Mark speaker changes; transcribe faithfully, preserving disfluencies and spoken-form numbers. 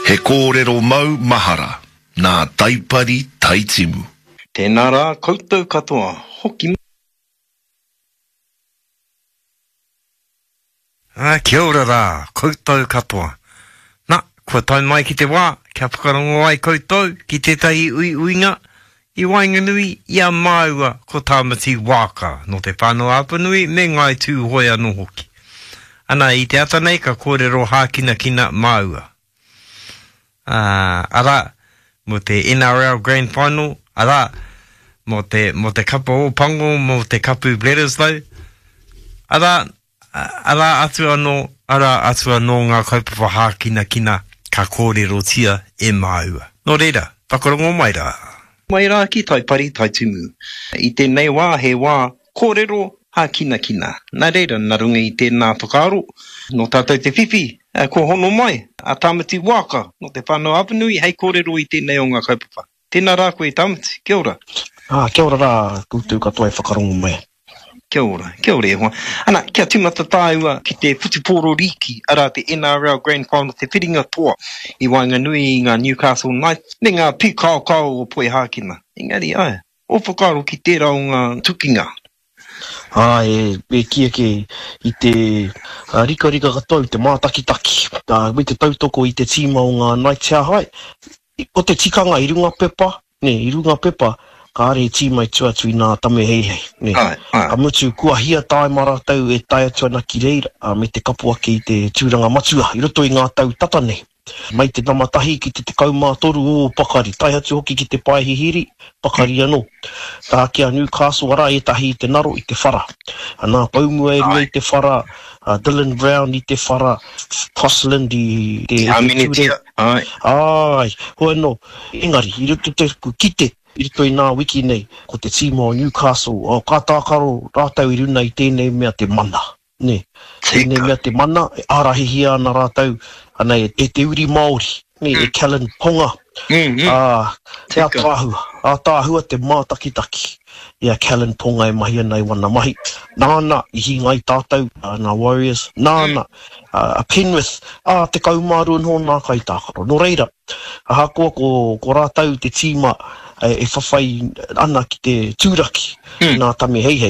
Speaker 1: He kōrero mau mahara nā Taipari Taitimu.
Speaker 2: Tēnā rā koutou katoa, hoki
Speaker 3: Ā, kia ora rā, koutou katoa. Na, kua tae mai ki te wā kia whakarongo ai koutou ki tētahi uiuinga i waenganui i a māua ko Tāmati Wāka nō Te Whānau-a-Apanui me Ngāi Tūhoe anō hoki. Ana, i te ata nei ka kōrero hākinakina māua. Ā, arā, mō te N R L Grand Final, arā, mō te, mō te kapa Ōpango, mō te kapu Bledisloe, arā, arā atu anō, arā atu anō ngā kaupapa hākinakina ka kōrerotia e māua. Nō reira, whakarongo mai rā.
Speaker 2: Mai rā ki Taipari Taitumu. I tēnei wā he wā kōrero hākinakina. Nā reira, nā runga i tēnā whakaaro, nō tātou te whiwhi, kua hono mai a Tāmati Wāka nō Te Whānau-a-Apanui hei kōrero i tēnei o ngā kaupapa. Tēnā rā koe Tāmati, kia ora.
Speaker 4: Ā, kia ora rā koutou katoa e whakarongo mai.
Speaker 2: Kia ora, kia ora e hoa. Ana, kia tīmata tāua ki te whutupōro rīki, arā te N R L Grand Final, te whiringa toa i waenganui i ngā Newcastle Knights me ngā pīkaokao o Poihākena. Engari, āe, ō whakaaro ki tērā o ngā tukinga?
Speaker 4: Āe, e kī ake i te rikarika katoa i te mātakitaki, me te tautoko i te tīma o ngā Knights he aha ai. Ko te tikanga i runga pepa, nē, i runga pepa, kāre e tīma i tua atu i nā Tame Heihei, nē.
Speaker 2: Āe, āe.
Speaker 4: Ka mutu, kua hia tāima rātou e tae atu ana ki reira, ā, me te kapo ake i te tūranga matua i roto i ngā tau tata nei. Mai te nama tahi ki te tekau mā toru ō pakari, tae atu hoki ki te pae hihiri, pakari anō. Tā ki a Newcastle, arā ētahi i te naro, i te whara. Nā Poumua e rua i te whara, a Dylan Brown i te whara, Crossland i te ture.
Speaker 2: Āe.
Speaker 4: Āe, hoi anō, engari, i roto te kite, i roto i nā wiki nei, ko te tīma o Newcastle, oh, ka tākaro rātou i runa i tēnei mea te mana, nē. Tēnei mea te mana, e ārahihia ana rātou, ana e, e te uri Māori, nē, e Kalyn Ponga.
Speaker 2: Mm, mm.
Speaker 4: Ā, he
Speaker 2: Tika.
Speaker 4: ātaahua, ātaahua te mātakitaki i a Kalyn Ponga e mahi ana i wana mahi. Nāna i hinga ai tātou, nā Warriors, nāna a Penrith, ā, tekau mā rua noho nā kaitākaro. Nō reira, ahakoa ko, ko rātou te tīma e whawhai ana ki te tūraki
Speaker 2: Mm.
Speaker 4: nā Tame Heihei,